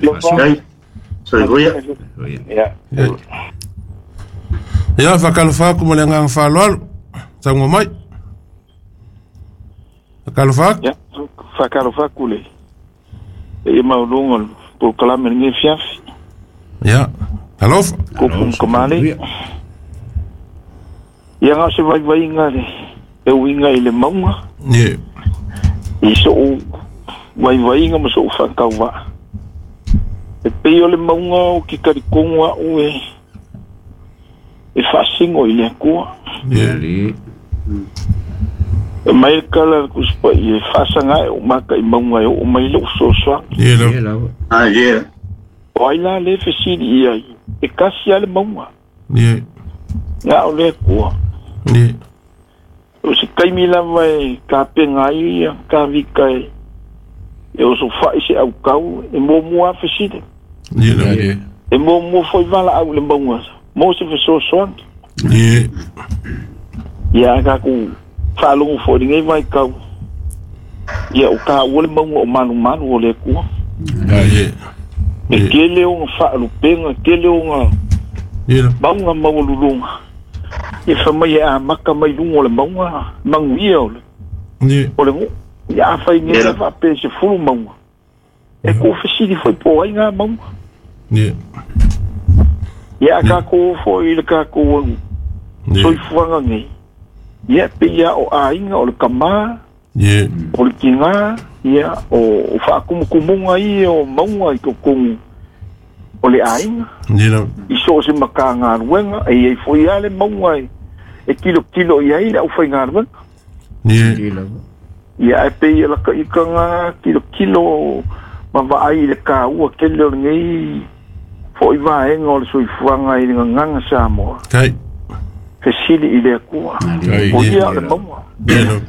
Lofa. Soifua. Ia. Ia, faatalofa atu ma le agaga faaaloalo. Saunoa mai. Faatalofa atu. Ia, faatalofa atu le paia maualuga o le polokalame i lenei afiafi. Ia, talofa. Tupu ma tamalii. Ia na o se vaivaiga le e uiga i le mauga. Ie. I sou vaivaiga ma sou faatauvaa. E pei o le mauga ou te talitonu au e e faasino i le Atua. Ie. E mai le tala a le Tusi Paia, e faasaga e ou mata i mauga e oo mai lou fesoasoani. Ie lava. Ah, ie. O ai la lea e fesili i ai, e tasi lava le mauga, Ie. na o le Atua. Ie. O se taimi lava e tapena ai ia Tavita e e osofai se autau, e muamua lava fesili. Ie lava. E muamua foi valaau i le mauga mo se fesoasoani. Ie. Ia a tatou faalogo foi i lenei vaitau, ia o taua le mauga o malumalu o le Atua. Ie. E tele ona faalupega, tele ona Ie lava. mauga maualuluga. Ia fai mai e amata mai luga o le mauga manuia o le Ie. o le nuu. Ia afai nei Ie. le faapea e 10 mauga, e tuufesili foi po o ai ngā mauga. Ie. Ia a tatou oo foi i le tatou Ie. soifuaga nei, ia pei lava o aiga o le kamā, Ie. o le tigā, ia o faakumukumuga ia o mauga i totonu o le aiga. Ie lava. I so o se matagaluega, e iai foi lava le mauga e tilotilo i ai le aufaigaluega. Ie. Ia ae pei e lakaikaga tilotilo ma vaai i le taua tele o lenei fo'i vaega o le soifuaga i le gagaga Samoa. Kai. Fesili i le Atua. Kai. O ia o le mauga. Ie lava.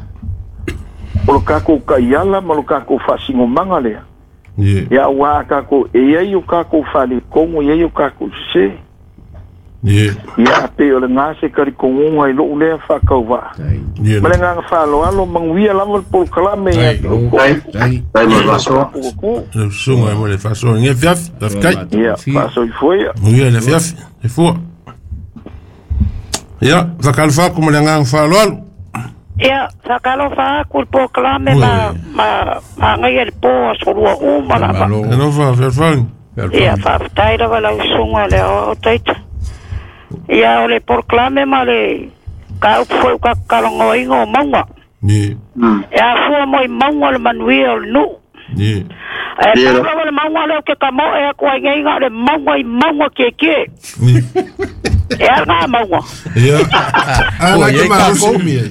O lo tatou taiala ma lo tatou faasinomaga lea. Ie. Ia auā a tatou e iai o tatou faaletonu, e iai o tatou sesē. Ie. Ia a pei o legā se talitonuga i lo'u lea faatauvaa. Ie Ma le lava. agaga faaaloalo, manuia lava le polokalame ia te outou. Kai. Kai mo le faasoa. Tatou. Lau susuga mo le faasoa i lenei afiafi. Faafetai. Ia, faasoifua ia. Manuia le afiafi. Soifua. Ia, faatalofa atu ma le agaga faaaloalo. Ia, faatalofa atu i le polokalame ma ma ma agaia le po aso lua uma lava. Alofa, fealofani. Ia, faafetai lava lau susuga le aoao taita. Ia, o le polokalame ma le kaupu foi o tatou talanoaina o mauga. Ie. E afua mo i mauga le manuia o le nuu. Ie. Ae Ia. pau lava le mauga lea ou te tamoe atu ai nei na o le mauga i mauga tietie. Ie. E ala ngā mauga. Ia. Ah, Ua, la iai ke malosi. tatou mea.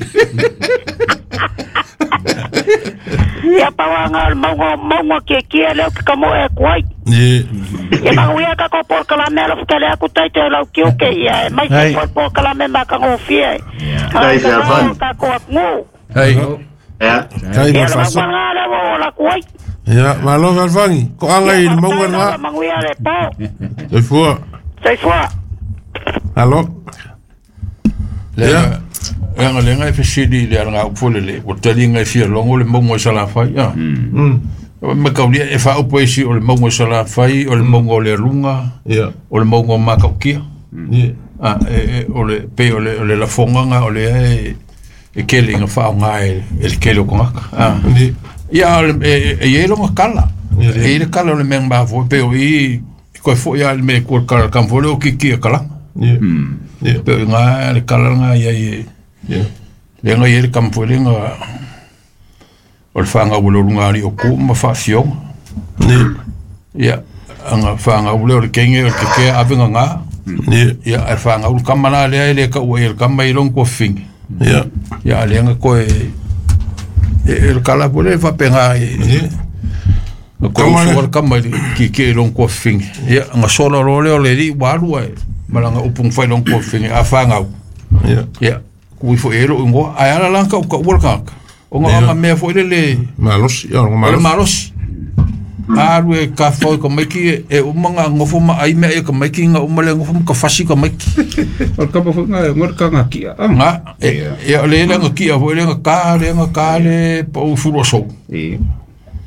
Ia pau lava ngā o le mauga o mauga tietie lea ou te tamoe atu ai. Ie. Ia manuia tatou polokalame alofa tele atu taita e lau tiute ia e maise Hai. foi polokalame matagofie. Kai, fealofani. Tatou atunuu. Hai. Ia. Kai mo Ia le le faasoa. mauga ngā lea ua ola atu ai. Ia, malo fealofani. Koaga i Ia le mauga faafetai lava lena. manuia le po. Soifua. Soifua. Alo. Le aga lenga e fesili i le alaga upu foi lele, ua taliga e fia logo le mauga i Salafai, a. Ma kaulia e faaupu ai isi o le mauga i Salafai, o le mauga o le aluga, Ia. o le mauga o Makaukia. Ie. A, e, e, o le, pei o le, o le lafoga nga o lea e, e kele inga faaaoga e, e le kele o kogaka. A. Ie. Ia, o le, e, e, e iai loga kala. Ia, E iai le kala o le mea mafua, pei o i, e koe fo'i a le mea kua kala kama foi le o kiki e kalaga. Ie. Ie. Pei o i ngā le kala nga iai e, Ie. le nga iai le kama foi le nga o le faagau o le oluga ali o ku ma faafioga. Ie. Ia, anga faagau le o le kenge o le kekea ave ngā. Ie. Ia, e faagau le kama la lea e le kaua i le kama i long kua fingi. Ia. Ia, le nga koe e, e le kala po le faapega e, Ie. nga koe Kama le- uso le kama i le kiki i long kua fingi. Ia, nga sola lo le o le li walu e, malanga upung fai long kua fingi, a faagau. Ia. Ia, kui foi e lo ingoa, ai ala lan kau kau ua kaka. O nga Ia. nga mea foi le le, Malosi, ia, o o le malosi. malosi. Alu e ka fau ka maiki e, e uma nga ngofo ma ai mea e ka maiki nga uma le ngofo ma ka fasi ka maiki. O le kapa foi ngā ngā ka ngā kia. Ah. Nga, e, e o le le nga kia foi le nga ka, le nga ka le pau furo sou. E.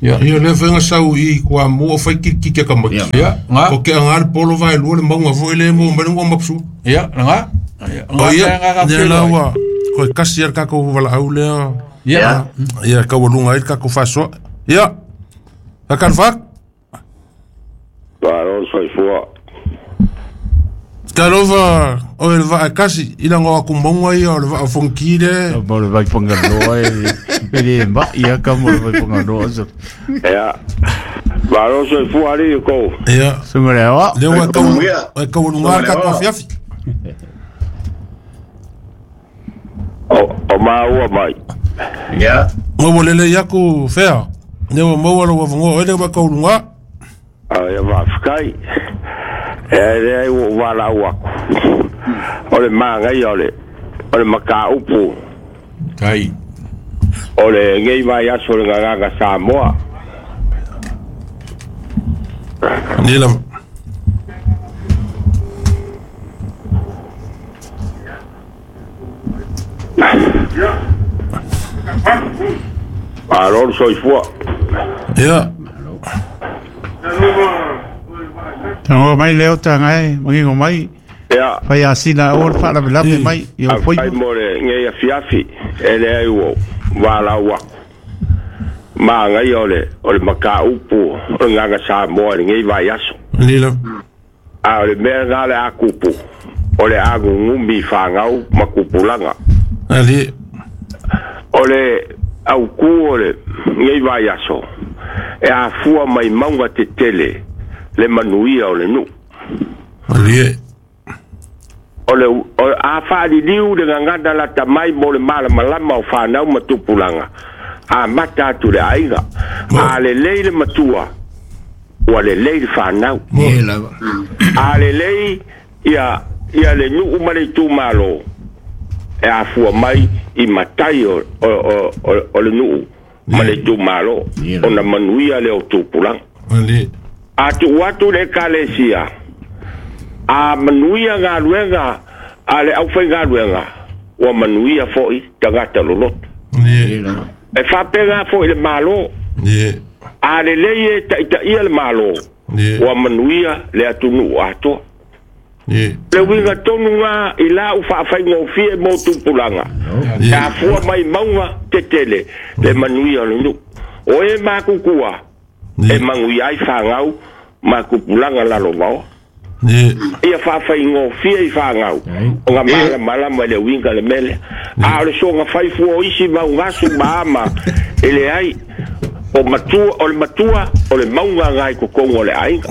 Ia. Ia le fenga sau i kwa mo fai ki ki ka mai. Ia, nga. O ke anga le polo vai lu le maunga foi le mo mai ngo mapsu. Ia, nga. O ia, ne la wa ko kasi ar ka ko wala au le. Ia. Ia ka walunga i ka ko faso. Ia. Ka kan fak. Malo soifua. Talova o el va kasi ila ngo akumbonga ia o le va fonkile. Mo le vai pangaloa e le ma ia ka mo le vai pangaloa so. Ia. Malo soifua ali ko. Ia. Sunga le wa. Le wa ka ka walunga ka ko fiafi. O maua mai. Ia. Mo lele iaku fea. Ne mo mo lo wa ngo ele wa ka walunga. Ia vafikai. E le ua wala aku. O le maangai o le makaupu. Tai. O le ngei vai aso le ngagaga Samoa. Nila. Malo soifua. Ia. Tango mai leo tanga e mangingo mai. Ia. Fai asina o fa la la mai i o foi. Ai mo le ngei afiafi e le ai wo wala aku. Maangai o le makaupu o le ngaga Samoa le ngei vai aso. Nila. A o le mea ngā le akupu o le agungumi whangau makupulanga. Ali. O le auku o le ngei vai aso e afua mai maunga te tele le manuia o le nu. Ali. O le a whaaliliu le ngangana la tamai mo le malamalama o whanau matupulanga. A mata atu le aiga. A le lei le matua ua le lei le whanau. A le lei ia le nuu ma le itumalo e afua mai i matai o le nuu ma le itumalo ona manuia le o tupulanga. Ali. A tuu atu le ekalesia a manuia galuega a le aufaigaluega ua manuia fo'i tagata loloto. E faapega fo'i le malo. A lelei e ta'itaʻia le malo ua manuia le atunuu atoa. Le uiga tonu ga i lau faafaigofie mo tupulaga e afua mai mauga tetele le manuia o le nuu. O e makukua e maguia ai fagau makupulaga lalovaoa. Ia faafaigofie i fagau o ga malamalama le uiga le mele. A o le soga faifua o isi maugasu ma ama e leai o matua o le matua o le mauga agai kokogo o le aiga.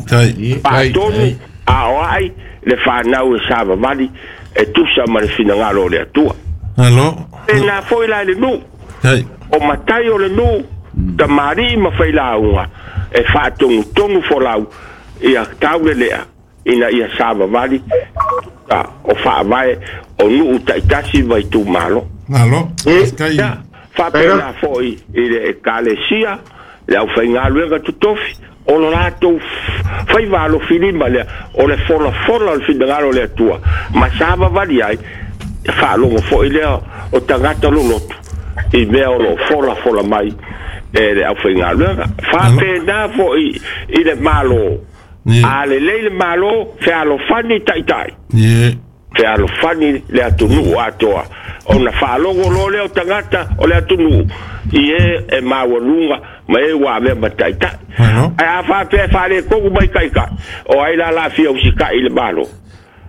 Paatonu a o ai le whanau e savavali e tusa ma le finagalo o le atua. Alo. E nā foi la le nuu. O matai o le nuu, tamari ma whailāunga e whaatongu tonu folau ia taule lea ina ia savavali o whaavae o nuu taitasi vai tū malo. Alo. Ia, whapena foi i le ekalesia, le au whaingaluenga tutofi, o lo latou faiva alofilima lea o le folafola o le finagalo o le Atua ma savavali ai faalogo fo'i lea o tagata loloto i mea o loo folafola mai e le aufaigaluega. Faapena fo'i i le malo. A lelei le malo fealofani ta'ita'i fealofani le atunuu atoa ona faalogo loa lea o tagata o le atunuu i e maualuga ma e ua avea ma ta'ita'i. Ae a faapea e faaletogu mai ta'ita'i o ai la laafia usika'i le malo.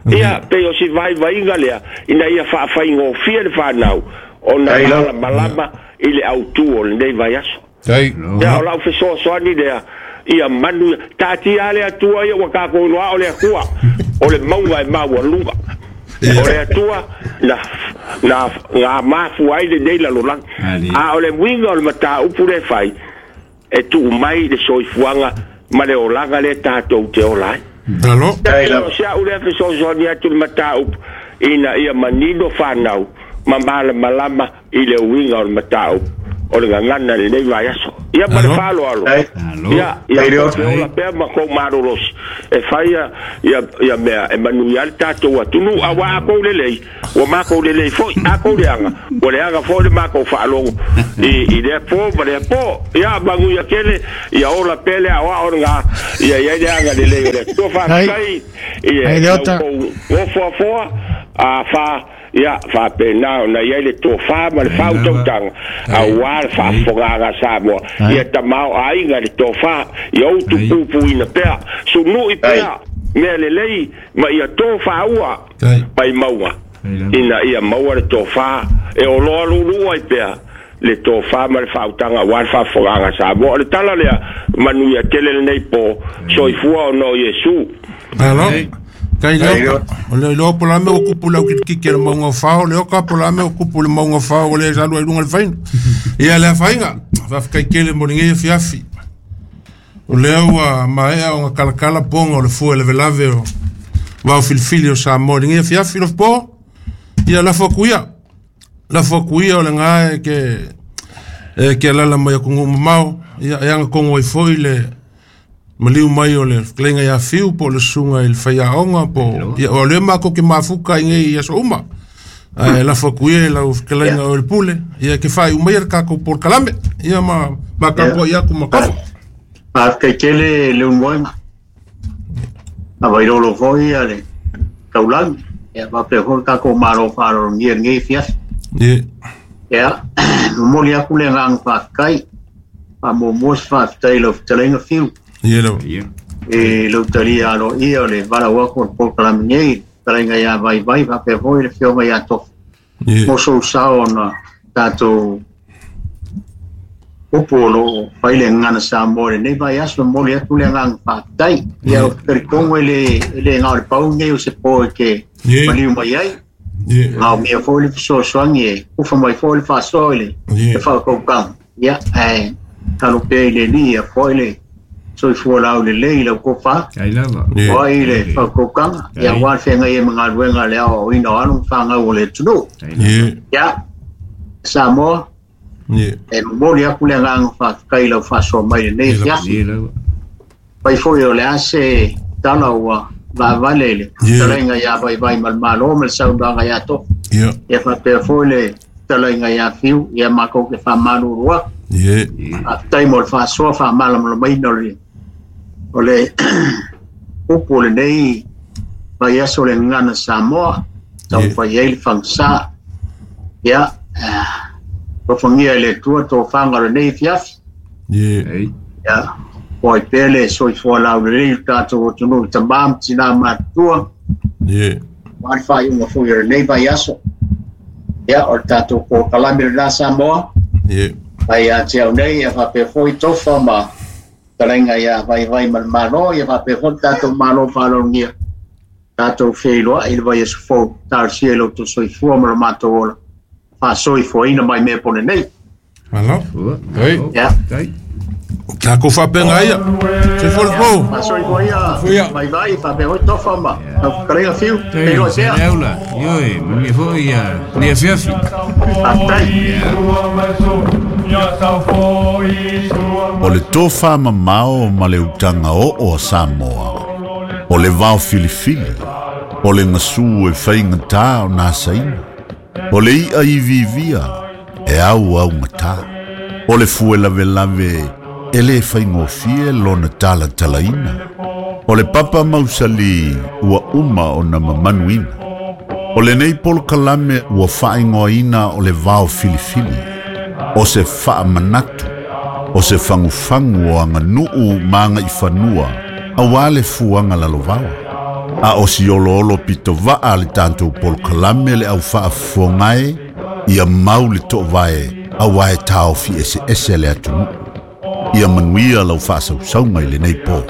Ia pei o si vaivaiga lea ina ia faafaigofie le fanau ona malamalama i le autū o lenei vaiaso. Ia o lau fesoasoani lea ia manu taatia le Atua ia ua tatou iloa o le Atua o le mauga e maualuga. O le Atua na ngā mafua ai lenei lalolagi. A o le uiga o le mataupu le fai e tuu mai le soifuaga ma le olaga le tatou te ola ai. Alo. O se au lea fesoasoani atu le mataupu ina ia manino fanau ma malamalama i le uiga o le mataupu o le gagana lenei vaiaso. Ia ma le faaaloalo. Ia ia ola pea ma kou malolosi E fai ia mea e manuia le tatou atunuu auā a kou lelei ua makou lelei foʻi a kou leaga ua leaga foʻi le makou faalogo i lea pō ma lea pō ia manuia tele ia ola pea le aoao lagā ia iai le agalelei o le Atua faafetai i le tou gofoafoa a fa ia faapena ona i ai le tofā ma le faautautaga auā le faafofogaaga a Samoa ia tamaoaiga le tofā ia utu pupuina pea sunuʻi pea mea lelei ma ia tofāua mai mauga ina ia maua le tofā e oloa luuluu ai pea le tofā ma le faautaga auā le faafofogaaga a Samoa. O le tala lea manuia tele lenei pō soifua ona o Iesu. Malo. Kai leo, o le iloa po la me o kupu lau kikiki le maunga o fao, le oka po la me o kupu le maunga o fao, o le salu ai lunga le faina. Ia le afainga, faafetai tele mo lenei afiafi. O lea ua maea ona kalakala poga o le fua lavelave o vao filifili o Samoa i lenei afiafi lofopo. Ia lafo atu ia. Lafo atu ia o le gā e ke alala mai atunuu mamao. Ia e agatonu ai foi le maliu mai o le fetalaiga ia Fiu po o le susuga i le faiaoga po ia o lea matou te mafuta i nei aso uma. Ae lafo atu ia i lau fetalaiga o le pule ia ke faaiu maia le tatou polokalame ia ma tapuai atu ma tofa. Faafetai tele le ulumoega. Availolo foi ia le taulagi. Ia faapea foi le tatou malo faaaloalogia i lenei afiafi. Ia, momoli atu le agaga faafetai. Faamuamua se faafetai i lau fetalaiga Fiu. I lau talia aloaia o le valaau atu o le polokalame nei, fetalaiga ia Vaivai faapea foi le afioga ia Tofa. Mo sou sao ona tatou upu o loo fai le gagana Samoa i lenei vaiaso, e momoli atu le agaga faafetai. Ia, ou te talitonu e le na o le pau lenei o se po e te maliu mai ai. Maomia foi le fesoasoani e ufa mai foi le faasoa i le faautautaga. Ia, ae talo pea i le Alii ia foi le soifua laulelei i lau tofa. O ai le faautautaga, ia aua le feagai ai ma galuega a le aoaoina o alo ma fanau o le atunuu. Ia, Samoa, e momoli atu le agaga faafetai i lau faasoa mai i lenei afiafi. Fai foi o le a se tala ua vaavale i le fetalaiga ia Vaivai ma le Malo ma le saunoaga ia Tofa. Ia faapea foi le fetalaiga ia Fiu, ia matou te faamalulu atu. Faafetai mo le faasoa faamalamalamaina o le upu o lenei vaiaso o le gagana Samoa, taumafai ai le fagasa. Ia, alofagia e le Atua tofaga o lenei afiafi. Ia, po ai pea le soifua laulelei i le tatou atunuu i tamā ma tinā matutua. Aua le faaiuga foi o lenei vaiaso. Ia, o le tatou polokalame lena Samoa. Mai ia te au nei, ia faapea foi Tofa ma fetalaiga ia Vaivai ma le Malo, ia faapea foi le tatou Malo faaaloalogia. Tatou feiloai i le vaiaso fou, talosia i lo outou soifua ma lo matou ola, faasoifuaina mai mea pone nei. Malo. Ia. Tatou faapena ia. Soifua le po. Faasoifua ia Vaivai, faapea foi Tofa ma lau fetalaiga Fiu, feiloai pea. Leaula, ioe, manuia foi ia lenei afiafi. Faafetai. O le tofa mamao ma le utaga oo a Samoa, o le vao filifili, o le gasu e faigatā ona asaina, o le i'a iviivia e auaugatā, o le fue lavelave e lē faigofie lona talatalaina, o le papa mausali ua uma ona mamanuina. O lenei polokalame ua faaigoaina o le vao filifili, o se faamanatu, o se fagufagu o aganuu ma agaifanua auā le fuaga lalovaoa. A o si oloolo pitovaa le tatou polokalame le aufaafofogae ia mau le toovae auā e taofi eseese le atunuu. Ia manuia lau faasausauga i lenei pō.